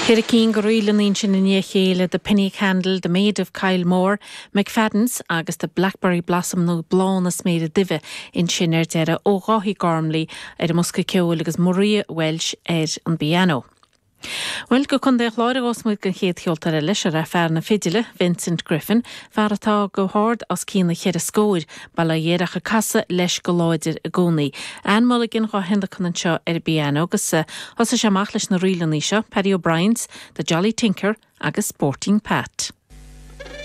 Cheithre cinn de ríleanna ansin i ndiaidh a chéile, The Penny Candle, The Maid of Kylemore, McFadden's agus The Blackberry Blossom nó Bláth na Sméire Duibhe ansin ar deireadh ó Dháithí Gormley ar an mbosca ceoil agus Maria Walsh ar an bpianó. Bhuel, go Contae an Chláir a ghabhfas muid don chéad cheoltóir eile, seo é fear na fidile, Vincent Griffin, fear atá go hard os cionn na cheithre scóir, bail ó Dhia air ach ag casadh leis go láidir i gcónaí. Anne Mulligan dhá thionlacan anseo ar an bpianó agus thosaigh sé amach leis na ríleanna seo, Paddy O'Brien's, The Jolly Tinker agus Sporting Pat.